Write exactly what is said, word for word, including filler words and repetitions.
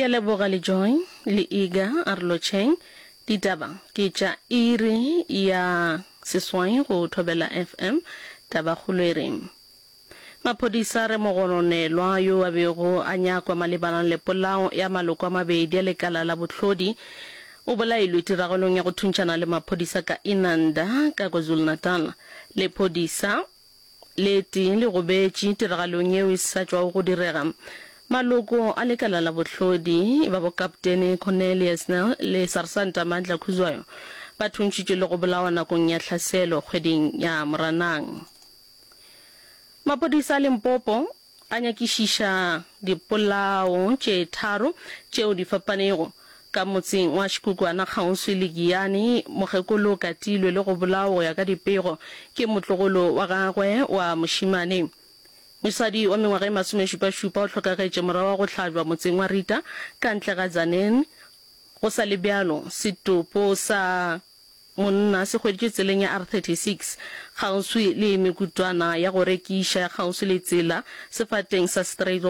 Ke a leboga le Joy le Iga a re lotšheng. Ditaba ke tša iri ya seswai go Thobela FM. Tabakgolo e re Maphodisa a re mogononelwa yo a bego a nyakwa malebana le polao ya maloko a mabedi a lekala la bohlodi o bolailwe tiragalong ya go thuntšhana le maphodisa ka Inanda ka KwaZulu-Natal. Lephodisa le tee le gobetše tiragalong yeo e sa tšwago go direga. Maloko a lekala la bohlodi ba bokaptene Cornelius Nel le Sarsanta Mandla Khuzwayo ba thuntšhitšwe le go bolawa nakong ya tlhaselo kgweding ya Moranang. Maphodisa a Limpopo a nyakišiša dipolao tše tharo tšeo di fapanego ka motseng wa Shikukwana kgauswi le Giyani. Mokgekolo o katilwe le go bolawa go ya ka dipego ke motlogolo wa gagwe wa mošemane. Mosadi wa mengwaga e masomešupašupa o hlokagetše morago ga go hlabja motseng wa Rita ka ntle ga Tzaneen. Go sa le bjalo, setopo sa monna se hweditšwe tseleng ya R thirty six kgauswi le mekutwana ya go rekiša ya kgauswi le tsela sefateng sa Strydom.